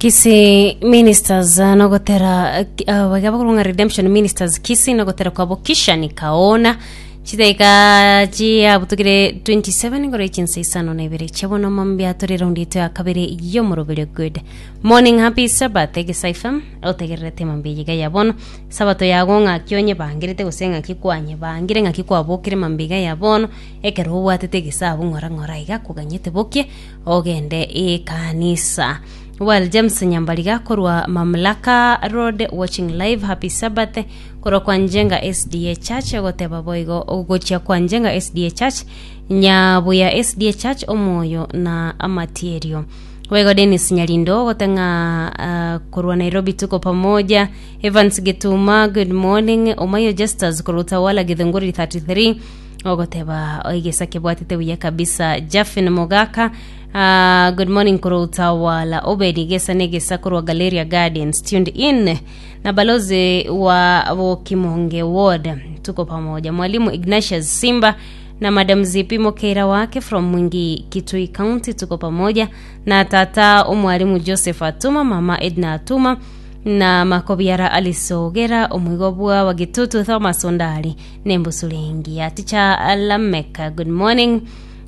Kisii Ministers ah, nogotera ah, baria bakorwa ng'a Redemption Ministers Kisii nogotera kwabo Kisha Nikaona chidaika chiabutukire 27 igoro echinsa isano na ibere chiabono mambia tore raundi yaito ya kabere y'omoroberio good morning happy sabbath egesa fm otegererete mambia iga ya bono sabato yago ng'aki onyebangerete gose ng'aki kwanyebangire ng'aki kwabokire mambia iga ya bono ekero obwatete egesabu ng'ora ng'ora iga koganyete bokie Ogende ekanisa. Well James Nyambariga korwa Mamlaka Road watching live happy Sabbath korwa kwa Njenga SDA Church ogoteba boigo gochia kwa Njenga SDA Church Nyabuya SDA Church omoyo na amatierio boigo Dennis Nyarindo ogoteng'a uh, korwa Nairobi tuko pamoja Evans Gituma good morning Omayo Justus korwa Utawala Githunguri 33 Ogoteba egesa kebwatete buya kabisa Jafin Mogaka ah, good morning korwa Utawala Obedi gesa negesa korwa Galeria Gardens tuned in na balozi wa Bokimonge Ward tuko pamoja Mwalimu Ignatius Simba na Madam Zipi Mokeira wake from Mwingi Kitui County tuko pamoja na tata omwalimu Joseph Atuma mama Edna Atuma na makobiara Alice Ogera omoigo bwa Wagitutu Thomas Ondari Nembusure engiya. Teacher Lameka, good morning.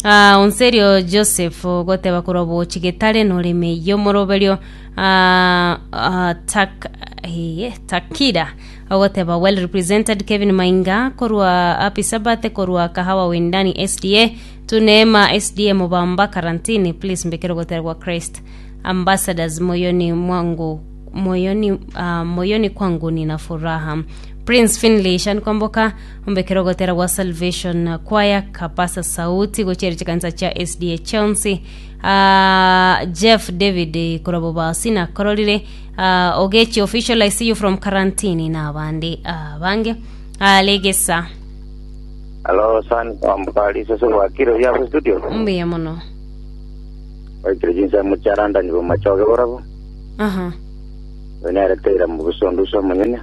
Uh, Onserio Joseph goteba korwa bochi getare noreme yomoroberio uh, uh, tak, eh, takira ogoteba well represented Kevin Mainga korwa happy Sabbath korwa Kahawa Wendani SDA Tuneema SDA Mubamba Karantini please mbekere gotera gwa Christ Ambassadors moyoni mwangu moyoni, uh, moyoni kwangu nina furaha Prince Finley Shan Kwamboka ombekere ogotera gwa Salvation Choir Kapasa Sauti gochiere chikanisa chia SDA Chelsea uh, Jeff David korwa Bobasi nakororire uh, Ogechi official I see you from Karantini na abande abange uh, Legesa Hello, san Kwamboka Lisese gwakire buya ase studio. mbuya mono Baikire chinsemo chia London bomachoge borabo. Aha. Oyo nere Teira mobusondusu omonyene.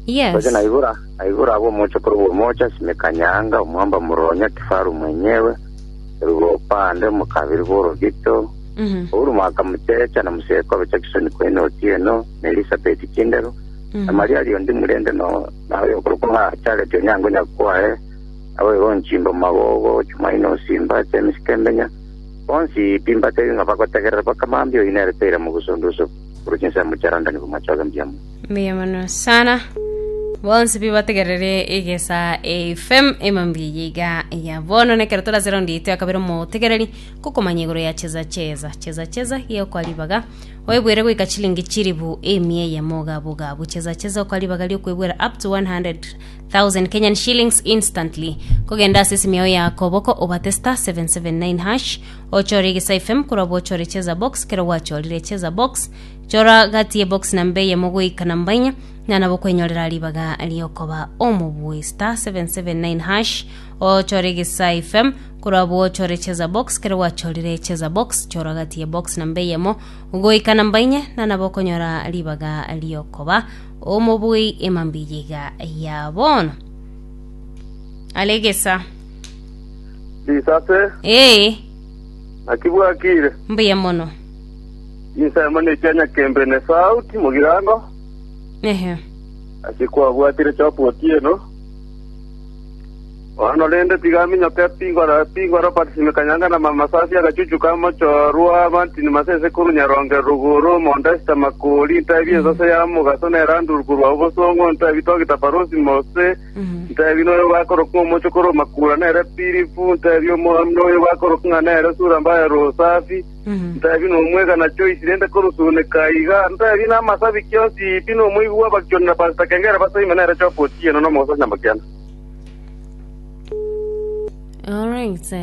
Yes. Gocha naibora, naibora abwo omochokoro bw'omocha, Simeka Nyaanga, omwamba Moronya, Kifaru mwenyewe, Erugo Opande, omokabiri bw'Orogito, Mhm. Uhuru Mwaka Muchecha, na Musekobe Jackson Kwene Otieno, na Elizabeth Kindero, na Maria Liondi Murende, no na oyokorokwa ng'a Charity Onyango Nyakwae, naboigo Nchimbo Magogo, Chumaine Osimba, James Kembenya, bonsi pi mbatebi ng'a bagotegerera mpaka mambia, oyio nere Teira Mogusondusu. Korwa chinsemo chia London bomachoge mbuya mono. Mbuya mono sana bonsi pi bategerere egesa fm emambia eye iga ya bono nekero torase raundi yaito ya kabere omotegereri kokomanya igoro ya cheza cheza cheza cheza geokwa ribaga oebwere goika chilingi chiribu emia eyemo gabu gabu cheza cheza okwa ribaga riokoebwera up to 100,000 Kenyan shillings instantly kogenda ase esimi yao ya koboko obate star 779 hash Ochore Egesaai FM korwa bochore Cheza Box kero gwachorire Cheza Box chora gati ye box namba eyemo goika namba inya na nabo kwenyorera ribaga riokoba omobui star 779 hash ochore Egesaai FM korwa bochore Cheza Box kero gwachorire Cheza Box chora gati ye box namba eyemo goika namba inya na nabo okonyora ribaga riokoba omobui emambia iga ya bono alegesa Risase, Ee, naki bwakire? mbuya mono. Chinsemo nechia Nyakembe ne Sauti mogirango, Ehe. ase kwabwatire Job Otieno. Bono rende tiga aminyoke Pingwa Pingwa Robert Simekanyanga na Mama Safi agachuchu ka Mochorwa Martin Masese korwa Nyaronge Ruguru Mondesta Makori ntebi ensase ya Mogaso na Eranduru korwa Obosongo ntebi Togita Barosi Mose Ntebi noyo bakorokwa omochokoro Makura nere Pilipu, ntebi Omoami noyo bakorokwa ng'a nere Sura mbaya Rosafi, ntebi nomwega na Joyce rende korusuneka iga, ntebi namasabiki onsi pi nomoigwa bw'abakioni na Pastor Kengere basoime nere Job Otieno nomogoso Nyamakianda. Alright.